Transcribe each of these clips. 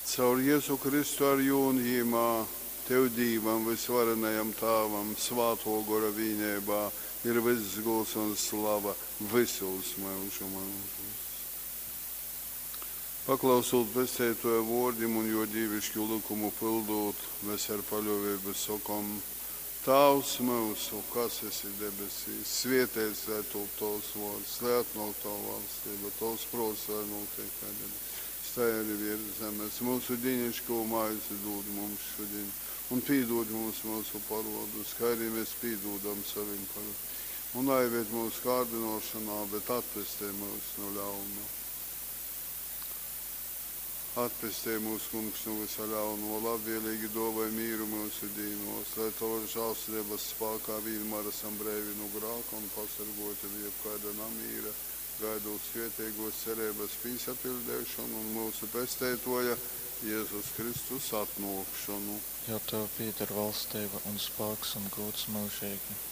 Caur Jezu Kristu ar Jū un Jymā, Tev Dīvam, vysvarenajam Tāvam, Svātō Gora vīneibā ir vyss gūds un slava vysūs myužu myužūs. Paklausūt Pesteitōja vōrdim un Jō dīvišku lykumu pyldūt, mes ar paļōveibu sokom, Tāvs myusu, kas esi debesīs, svēteits lai tūp Tovs vōrds, lai atnōk Tova valstība, Tovs prōts lai nūtiek kai debesīs, tai arī virs zemes. Mūsu dīnišķo maizi dod mums šodien, un pīdod mums mūsu parodus, kā arī mēs pīdodam savim parodiem. Un aived mūsu kārdinošanā, bet atpestej mūs no ļauna. Atpestej mūs, Kungs, no visa ļauno, labvēlīgi dāvāj mīru mūsu dīnos, lai Tavas žēlsirdības spēkā vienmēr esam breivi no grāka un pasargoti no jebkāda namīra, gaidot svētīgos cerības pīsapildīšanu un mūsu pesteitoja Jēzus Kristus atnākšanu. Jo Tev pieder valstība un spēks un gods mūžīgi.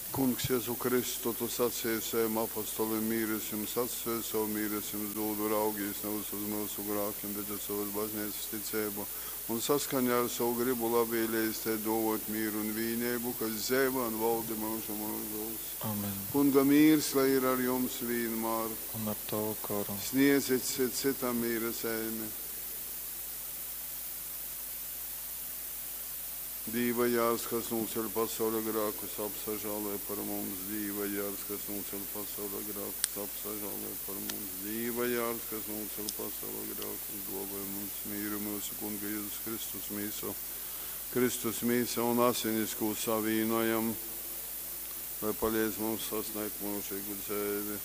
Kungs, Jēzu Kristu, tu sacīji saviem apostoliem, mīres jums atstāju, savu mīres jums dodu, raugīs nevis uz mūsu grākiem, bet uz savas baznīcas ticību, un saskaņā ar savu gribu labvēlējis te dovot mīru un vīnību, kas dzīvo un valdi mūžu mūžos. Amen. Kunga mīrs, lai ir ar jums vienmēr. Un ar Tavu goru. Sniedzit citam mīra zeimi. Dīva jārs, kas nūceļ pasaules grēkus, apsažālē par mums. Dīva jārs, kas nūceļ pasaules grēkus, apsažālē par mums. Dīva jārs, kas nūceļ pasaules grēkus, dāvāj mums mīru mūsu Kunga Jēzus Kristus mīsu. Kristus mīsa un asinis, ko savīnojam, lai palīdz mums sasniegt mūžīgu dzīvi.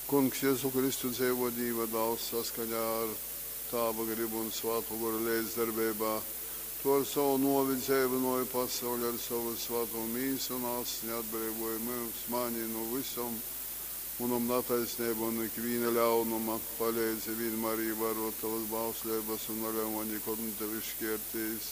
Kungs Jēzu Kristu dzīvo Dīva dāls saskaņā ar Tāva gribu un Svāto goru līdzdarbībā. Tu ar savu novi dzīvinoji pasauli ar savu svēto mīsu un asni atbrīvoji mūs, mani no visam manam netaisnību un ikviena ļaunuma. Palīdzi vienmēr ievērot tavas bauslības un neļauj man nekad no tevis šķirties.